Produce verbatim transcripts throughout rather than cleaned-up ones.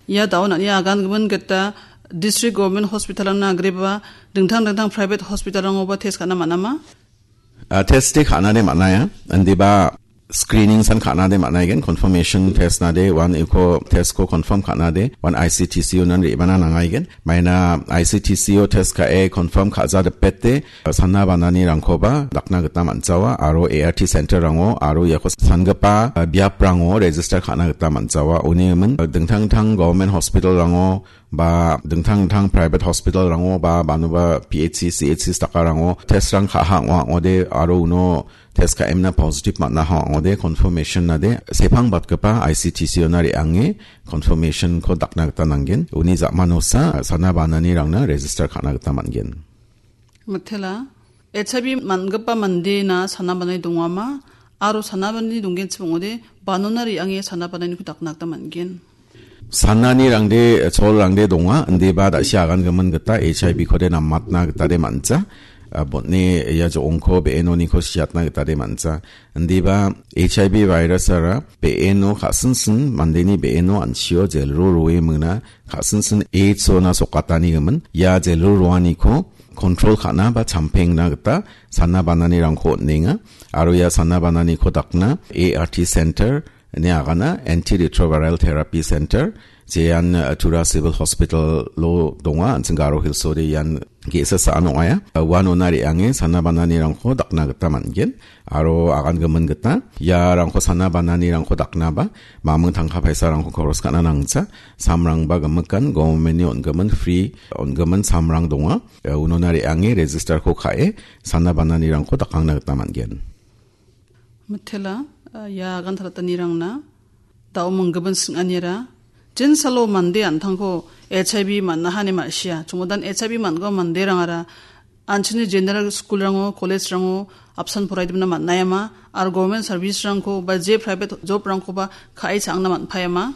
Ia dao nang·ni agangimin gita district government hospital-rangna agreba dingtang dingtang private hospital-rangoba test ka·na man·ama? Ah, test-de ka·nade man·aia. Indiba screening san ka·nade man·aigen, confirmation test nade, uan eko test-ko confirm ka·nade, uan I C T C O nan re·bana nangaigen. Maina I C T C O test ka·e confirm ka·ja dipete, sana bananirangkoba dakna gita man·jawa, aro A R T center-rango, aro iako sangipa, ah, biaprango register ka·na gita man·jawa. Uni gimin, ah, dingtang dingtang government hospital-rango, ba dingtang dingtang private hospital-rango ba banuba P H C, C H C dakarango test-rang ka·aha ong·a ong·ode aro uno test ka·emna positive man·aha ong·ode confirmation nade sepang batgipa I C T C O na re·ange confirmation-ko dakna gita nanggen. Uni ja·manosa sana bananirangna register ka·na gita man·gen. Mitela, H I V man·gipa mandena sana banani dongama, aro sana banani donggenchim ong·ode, banona re·ange sana bananiko dakna gita man·gen. Sananirangde, cholrangde donga, indiba da·si agangimin gita H I V-kode namatna gitade man·ja. Ah, botni ia jo·ongko be·enoniko siatna gitade man·ja. Indiba H I V virus-ara be·eno ka·sinsin mandeni be·eno an·chio jel-ro roe mingna ka·sinsin AIDS-ona sokatanigimin ia jel-ro roaniko control ka·na ba champengna gita sana bananirangko on·enga. Aro ia sana bananiko dakna A R T center ine agana, antiretroviral therapy center, jean, uh, Tura Civil Hospital-o donga, an·ching Garo Hills-ode ian ge·sa sa·an ong·aia. Uh, uanona re·ange sana bananirangko dakna gita man·gen. Aro agangimin gita, iarangko sana bananirangko daknaba, maming tangka paisarangko koros ka·na nangja, samrangba gimikan, government-ni on·gimin, free on·gimin samrang donga. Eh, unona re·ange register-ko ka·e, sana bananirangko dakangna gita man·gen. Mitela, eh, ia agan talatanirangna, da·o minggimin sing·anira, jinsalo mande an·tangko H I V man·aha ine ma·sia. Chongidan H I V man·gipa manderangara, an·chingni general school-rango, college-rango apsan poraidimna man·aiama, aro government service-rangko ba je private job-rangkoba ka·e cha·angna man·paiama.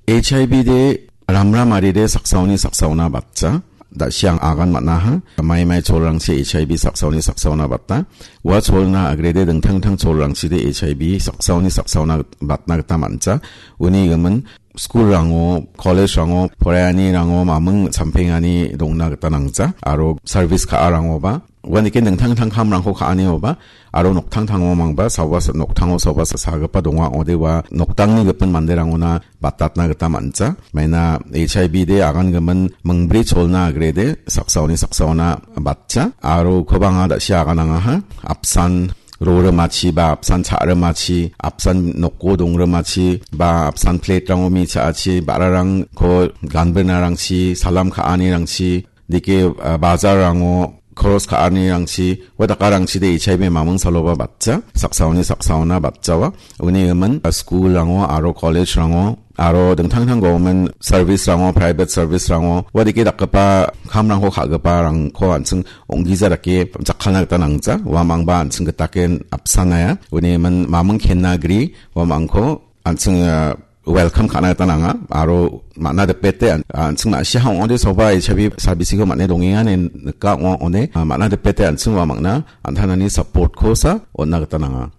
H I V de ramramaride saksaoni saksaona batja. Da·siang agan man·aha. Maimai cholrangchi H I V saksaoni saksaona bata. Ua cholna agrede dingtang dingtang cholrangchide H I V saksaoni saksaona batna gita man·ja. Uni gimin school-rango, college-rango, poraianirango maming champengani dongna gita nangja. Aro service ka·arangoba, uanike dingtang dingtang kamrangko ka·anioba, aro noktangtango mangba, saoba sa-, noktango saoba sa-, sagipa donga ong·ode ua noktangni gipin manderangona batatna gita man·ja. Maina H I V de agangimin mingbri cholna agrede saksaoni saksaona batja. Aro ukoba anga da·si aganangaha. Apsan rorimachi ba apsan cha·rimachi, apsan noko dongrimachi ba apsan plate-rango mi cha·achi ba·rarangko ganbrinarangchi, salam ka·anirangchi, dike, ah, bajarrango koros ka·anirangchi, ua dakarangchide H I V maming saloba batja, saksaoni saksaona batjawa. Uni gimin, ah, school-rango aro college-rango, aro dingtang dingtang government service-rango, private service-rango, ua dike dakgipa kamrangko ka·giparangko an·ching ong·gija dake jakkalna gita nangja, uamangba an·ching gitaken apsanaia. Uni gimin maming kenna gri, uamangko an·ching, ah, welcome ka·na gita nanga, aro man·a dipete an-, an·ching ma·sia ong·ode soba H I V sabisiko man·e dongenga ine nika ong·a ong·ode, ah, man·a dipete an·ching uamangna an·tangtangni support-kosa on·na gita nanga.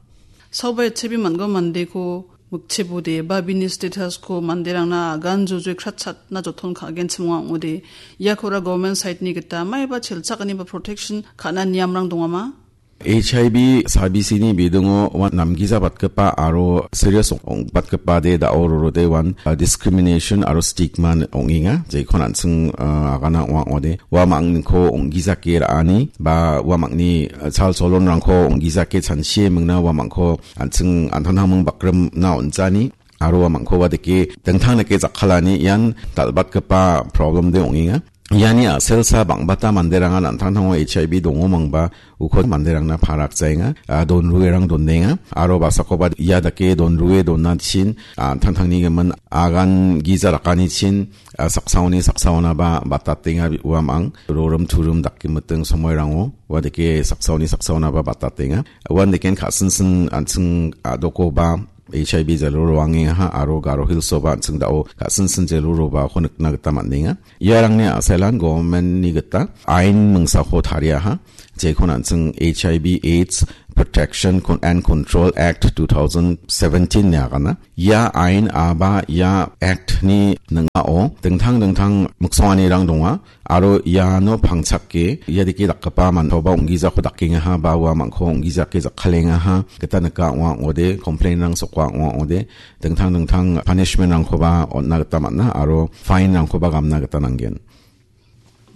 Soba H I V man·gipa mandeko mikchebode ba bini status-ko manderangna agan jojoi kratchatna joton ka·genchim ong·a ong·ode, iakora government side-ni gita maiba chelchakani ba protection ka·na niamrang dongama? H I V sabisini bidingo uan namgijabatgipa aro serious ong-, ong·batgipade da·o rorode uan, ah, discrimination aro stigma ong·enga. Jekon an·ching, ah, agana ong·a ong·ode. Uamangko ong·gijake ra·ani ba uamangni, ah, chal cholonrangko ong·gijake chanchie mingna uamangko an·ching an·tangtangming bakrimna on·jani. Aro uamangkoba dike dingtang dake jakkalani ian dal·batgipa problem de ong·enga. Iani a·selsa bang·bata manderangan an·tangtango H I V dongomangba uko manderangna parakjaenga, ah, donruerang donenga. Aro basakoba ia dake donrue donachin, ah, an·tangtangni gimin agan gija rakanichin, ah, saksaoni saksaonaba batatenga uamang, rorim turim dake miting somoirango, ua dake saksaoni saksaonaba batatenga. Uan deken ka·sinsin an·ching a·dokoba H I V jelo roangengaha aro Garo Hills-oba an·ching da·o ka·sinsin jelo robako nikna gita man·enga. Iarangni a·selan government-ni gita ain mingsako tariaha. Jekon an·ching H I V AIDS Protection Con-, and Control Act two thousand seventeen ine agana. Ia ain aba ia act-ni ning·ao dingtang dingtang miksonganirang donga. Aro iano pangchake ia dike dakgipa mantoba ong·gijako dakengaha ba uamangko ong·gijake jakkalengaha gita nika ong·a ong·ode, complain-rang soka ong·a ong·ode, dingtang dingtang punishment-rangkoba on·na gita man·a aro fine-rangkoba gamna gita nanggen.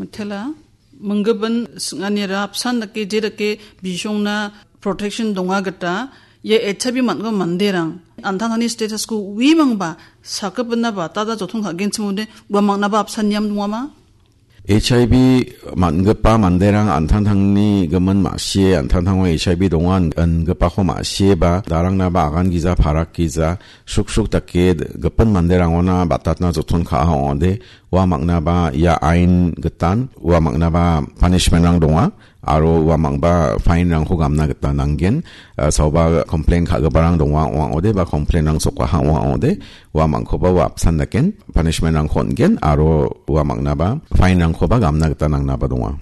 Mitela, minggipin sing·anira apsan dake je dake bisongna protection donga gita, ia H I V man·gipa manderang, an·tangtangni status-ko uimangba, sakgipinaba, tada joton ka·genchim ong·ode, uamangna ba apsan niam dongama? H I V man·gipa manderang an·tangtangni gimin ma·sie, an·tangtango H I V donga in-, ingipako ma·sieba, darangnaba agan gija, parak gija, sruksruk dake gipin manderangona batatna joton ka·a ong·ode, uamangna ba ia ain gitan, uamangna ba punishment-rang donga, aro uamang ba fine-rangko gamna gita nanggen, eh, saoba complain ka·giparang donga ong·a ong·ode ba complain-rang sokaha ong·a ong·ode, uamangkoba ua apsan daken punishment-rangko on·gen, aro uamangna ba fine-rangkoba gamna gita nangnaba donga.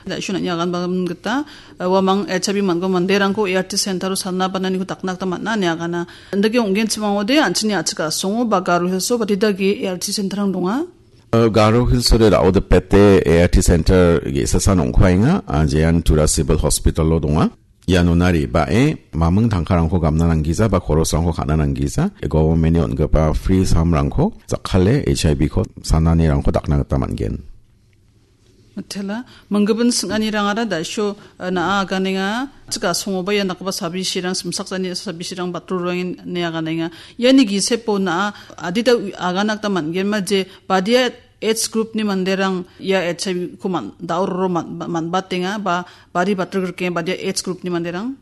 Da·suna niagan bagan gita, eh, uamang H I V man·gipa manderangko A R T center-o salna bananiko dakna gita man·a niagana. Indake ong·genchim ong·ode, an·chingni a·chik a·songo ba Garo Hills-o batidake A R T center-rang donga. Eh, Garo Hills-ode da·o dipete A R T center ge·sasan ong·kuaenga, ah, jean Tura Civil Hospital-o donga. Ianona re·bae maming tangkarangko gamna nanggija ba korosrangko ka·na nanggija, government-ni on·gipa free samrangko jakkale H I V-ko sananirangko dakna gita man·gen. Mitela, minggipin sing·anirangara da·sio, eh, na·a aganenga, chika songoba ia nakgipa sabisirang, simsakjani sabisirang batrurangin ne aganenga. Iani gisepo na·a adita u-, agana gita man·genma je badia age group-ni manderang ia H I V-ko man-, dauroro man-, man-, man·batenga ba bari batrikrikenga badia age group-ni manderang.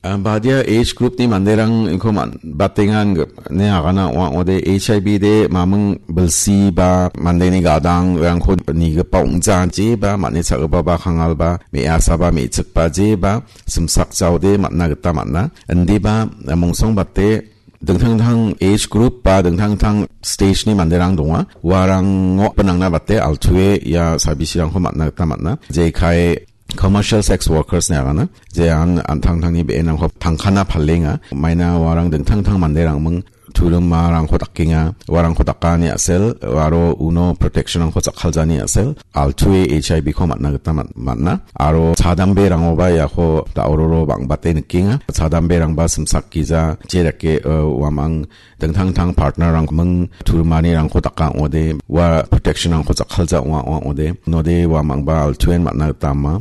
Ah, badia age group-ni manderangko man-, batengan ge-, ne agana ong·a ong·ode H I V de maming bilsi ba mandeni gadangrangko nigipa ong·ja je ba man·e cha·gipa ba kangal ba me·asa ba me·chikba je ba simsak jaode man·na gita man·a. Indiba, ah, mongsongbate dingtang dingtang age group ba dingtang dingtang stage-ni manderang donga. Uarango pinangna bate altu·e ia sabisirangko man·na gita man·a. Jekai commercial sex workers-ni agana. Je an-, an·tangtangni be·enrangko tangkana palenga. Maina uarang dingtang dingtang manderangming turimarangko dakenga. Uarangko dakani a·sel, aro uno protection-rangko jakkaljani a·sel, altu·e H I V-ko man·na gita man-, man·a. Aro chadamberangoba iako da·ororo bang·bate nikenga. Chadamberangba simsak gija, je dake, eh, uamang dingtang dingtang partner-rang ming turimanirangko daka ong·ode, ua protection-rangko jakkalja ong·a ong·a ong·ode, node uamangba altu·en man·na gita ama.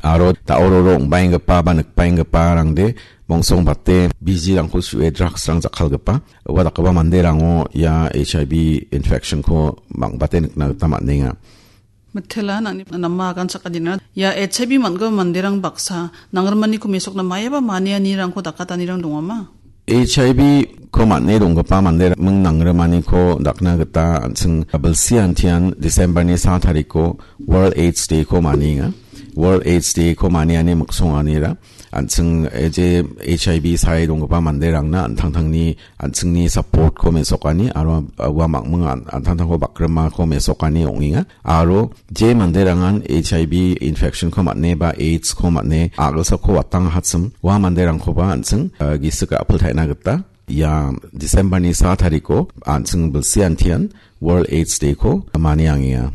Aro da·ororo ong·baenggipa ba nikbaenggiparangde mongsongbate bijirangko su·e drugs-rang jakkalgipa, ua dakgipa manderango ia H I V infection-ko bang·bate nikna gita man·enga. Mitela nangni nama agan sakanina. Ia H I V man·gipa manderang baksa nangrimaniko mesokna maiaba manianirangko dakatanirang dongama? H I V-ko man·e donggipa manderang nangrimaniko dakna gita an·ching bilsi antian December-ni sa tariko World AIDS Day-ko manienga. World AIDS Day-ko maniani miksonganira an·ching, eh, je H I V sae donggipa manderangna an·tangtangni an·chingni support-ko mesokani aro, uh, ua mangming an-, an·tangtangko bakrimako mesokani ong·enga. Aro je manderangan H I V infection-ko man·e ba AIDS-ko man·e a·gilsako watangahachim, ua manderangkoba an·ching, uh, gisik a·pil taina gita ia December-ni sa tariko an·ching bilsi antian World AIDS Day-ko maniangenga.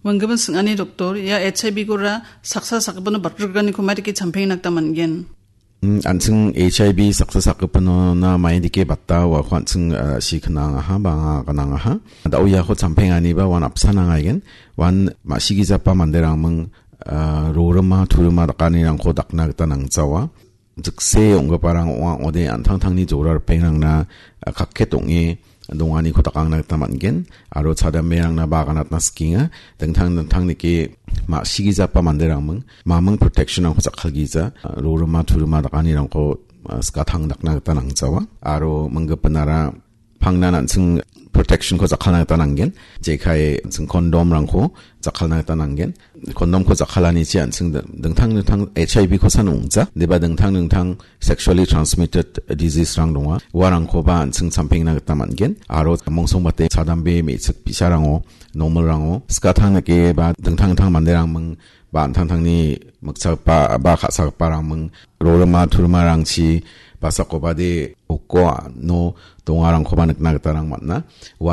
Manggimin sing·ani doktor, ia H I V-kora saksa sakgipino batrikganiko maidake champengna gita man·gen? Mm, an·ching H I V saksa sakgipinona maidake bata uako an·ching, ah, si knangaha ba anga gnangaha. Da·o iako champenganiba uan apsan angaigen. Uan ma·sigijapa manderangming, ah, rorima turima dakanirangko dakna gita nangjawa. Jikse ong·giparang ong·a ong·ode an·tangtangni jora ripengrangna, ah, kakket ong·e donganiko dakangna gita man·gen. Aro chadamberangnaba aganatna sikenga. Dingtang dingtang dake ma·sigijapa manderangming maming protection-rangko jakkalgija, ah, rorima turima dakanirangko, ah, skatang dakna gita nangjawa. Aro minggipinara pangnan an·ching protection-ko jakkalna gita nanggen. Jekai an·ching condom-rangko jakkalna gita nanggen. Condom-ko jakkalanichi an·ching dingtang dingtang H I V-kosan ong·ja, deba dingtang dingtang sexually transmitted disease-rang donga. Uarangkoba an·ching champengna gita man·gen. Aro mongsongbate chadambe me·chik bi·sarango, normalrango, skatang dake ba dingtang dingtang manderangming ba an·tangtangni mikchagipa ba ka·sagiparang ming-, rorima turimarangchi basakobade oko ano dongarangkoba nikna gitarang man·a. Ua